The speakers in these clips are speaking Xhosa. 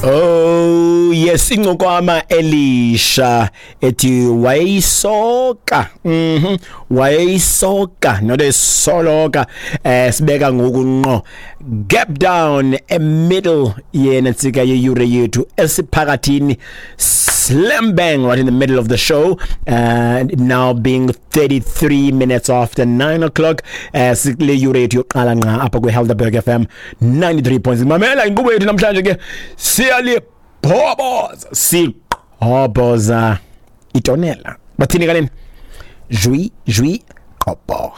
Oh yes, incokwama elisha ethi wayeyisoka. Wayeyisoka not esoloka. Sibeka ngoku nqo gap down e middle yena ntsika yeyure yethu esiphakathini, slam bang right in the middle of the show, and now being 33 minutes after 9 o'clock, sikule yure yethu yoqala nqa apha kwi-Helderberg FM 93.6. Mamela inkqubo yethu namhlanje ke, siyalibhoboza, siqhoboza itonela. Bathini kaleni? Jui jui qobo,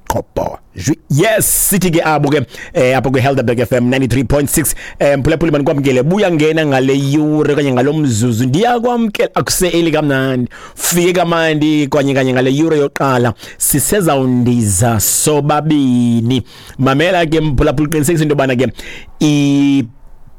qobo jui. Yes, sithi ke abo ke apha kwi-Helderberg FM 93.6. Mphulaphuli, manikwamkele, buya ngena ngale yure okanye ngalo mzuzu, ndiyakwamkela. Akuseli kamnandi, fike kamandi kwanye kanye ngale yure yoqala, sisezawundiza sobabini. Mamela ke mphulaphuli, qinisekisa into yobana ke i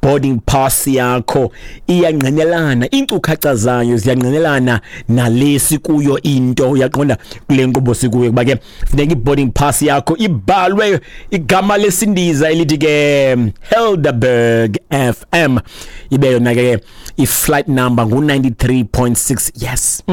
boarding pass yakho iyangqinelana, iinkcukacha zayo ziyangqinelana nale sikuyo into, uyaqonda, kule nkqubo sikuyo, kuba ke funeka i-boarding pass yakho ibhalwe igama lesindiza elithi ke Helderberg FM, ibe yona ke i-flight number ngu-93.6. Yes.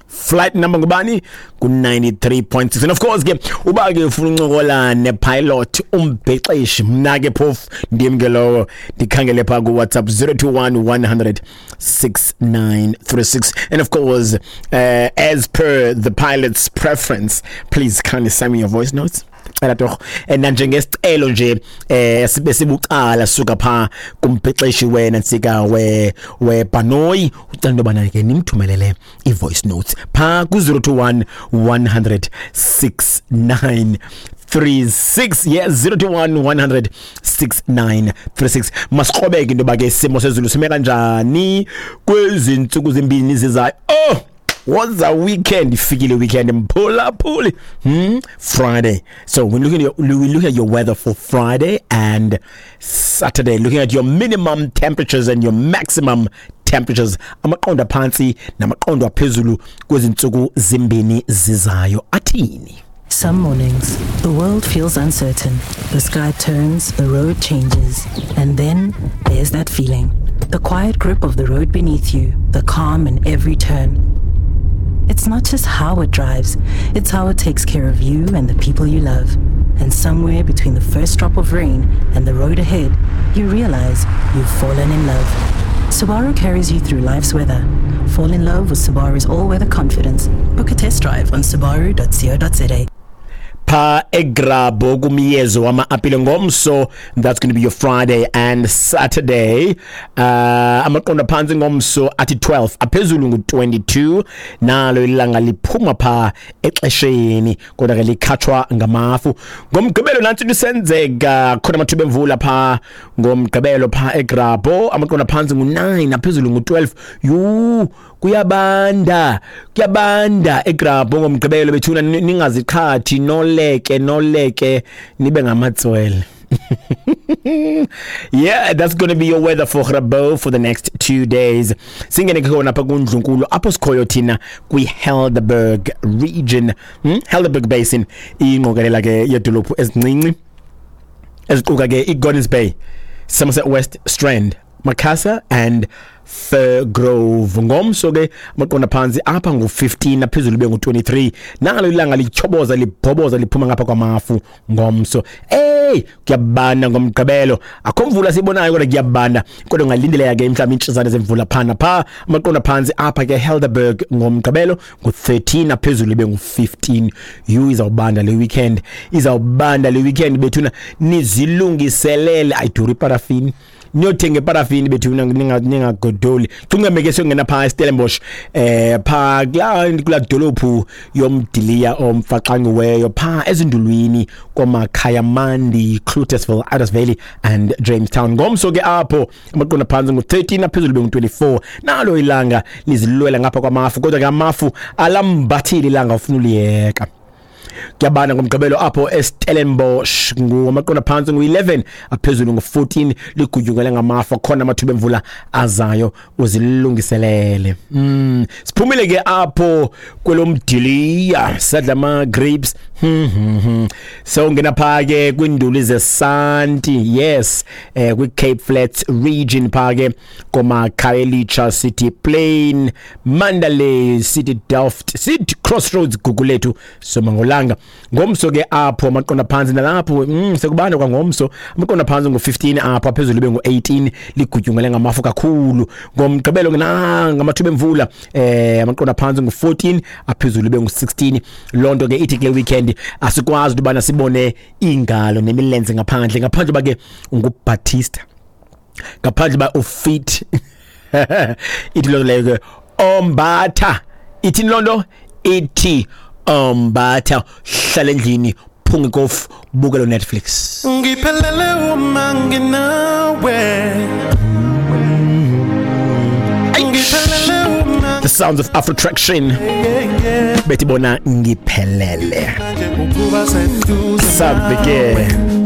Flight number ngubani? Ku-93.6. And of course ke, uba ke ufuna uncokola nepilot, umbhexeshi, mna ke phofu ndim ke lowo, ndikhangele phaa kuWhatsApp 021 100 6936. And of course, as per the pilot's preference, please kindly send me your voice notes. Cela torho, nanjengesicelo nje sibe sibucala suka pha kumbhexeshi wena ntsika we webhanoyi, ucela into yobana ke nimthumelele i-voice notes pha ku-021 100 6936. Yes, 021 100 6936. Masikrobeke into yoba ke isimo sezulu sime kanjani kwezi ntsuku zimbini zizayo. Oh, what's a weekend? Ifikile weekend, mphulaphuli. Friday. So we look at your weather for Friday and Saturday, looking at your minimum temperatures and your maximum temperatures, amaqondo aphantsi namaqondo aphezulu kwezi ntsuku zimbini zizayo athini. Some mornings, the world feels uncertain. The sky turns, the road changes, and then there's that feeling. The quiet grip of the road beneath you, the calm in every turn. It's not just how it drives, it's how it takes care of you and the people you love. And somewhere between the first drop of rain and the road ahead, you realize you've fallen in love. Subaru carries you through life's weather. Fall in love with Subaru's all-weather confidence. Book a test drive on subaru.co.za. Pha eGrabouw kumyezo wama-apile ngomso, that's going to be your Friday and Saturday, amaqondo phantsi ngomso athi 12, aphezulu ngu-22. Nalo ilanga liphuma pha exesheni, kodwa ke likhatshwa ngamafu. Ngomgqibelo nantsi into isenzeka khona, amathuba emvula pha ngomgqibelo pha eGrabouw, amaqondo phantsi ngu-9, aphezulu ngu-12. Yhu, kuyabanda, kuyabanda eGrabouw ngomgqibelo bethuna, ningaziqhathi, noleke noleke nibe ngamatswele. Yeah, that's going to be your weather for Grabouw for the next 2 days. Singene ke khona apha kundlunkulu apho sikhoyo thina kwi-Helderberg region, Helderberg Basin, ingqokelela ke yedolophu ezincinci eziquka ke i-Gordons Bay, Somerset West, Strand, Macassar and Firgrove. Ngomso ke amaqondo phantsi apha ngu-15, aphezulu ibe ngu-23. Nalo ilanga lityhoboza libhoboza liphuma ngapha kwamafu ngomso. Ey, kuyabanda ngomgqibelo, akho mvula siyibonayo kodwa kuyabanda, kodwa ungalindeleka ke mhlawumbi iintshizane zemvula phana pha. Amaqondo phantsi apha ke Helderberg ngomgqibelo ngu-13, aphezulu ibe ngu-15. Yhu, izawubanda le weekend, izawubanda le weekend bethuna, nizilungiselele. Ayiduri iparafini, niyothenga iparafini bethuna, ningagodoli. Cungame ke siyongena phaa eStellenbosch, phaa kulaa dolophu yomdiliya omfaxangiweyo phaa ezindulwini komakhayamandi, Cloetesville, Idas Valley and Jamestown. Ngomso ke apho amaqondo phantsi ngu-13, aphezulu bengu-24. Nalo ilanga lizilwela ngapha kwamafu, kodwa ke amafu alambathile ilanga, ufuna uliyeka. Kuyabanda ngomgqibelo apho eStellenbosch, ngamaqondo phantsi ngu-11, aphezulu ngu-14, ligutyungele ngamafa, khona amathuba emvula azayo, uzilungiselele. Siphumile ke apho kwelomdiliya, sadla ama-grapes. Sewungena phaa ke kwiinduli zesanti, yes, kwi-Cape Flats region phaa ke koma-Khayelitsha, City Plain, Mandalay City, Delft City, Crossroads, Gugulethu, Somangolanga. Ngomso ke apho amaqonda phantsi nalapho sekubanda kwangomso, amaqonda phantsi ngu-15 apho, aphezulu ibe ngu-18, ligutyungele ngamafu kakhulu. Ngomgqibelo ke ngamathuba emvula, amaqonda phantsi ngu-14, aphezulu ibe ngu-16. Loo nto ke ithi kule weekend asikwazi into yobana sibone iingalo nemilenze ngaphandle, ngaphandle uba ke unguBaptista, ngaphandle uba ufit. Ithi loo nto leyo ke ombatha, ithini loo nto ithi ombatha, hlala endlini, phunga ikofu, bukelo Netflix. Ngiphelele uma nginawe. Ngiphelele uma The sounds of Afro Traction, bethi bona ngiphelele. Ukuba seduze Sabe ke. Nawe.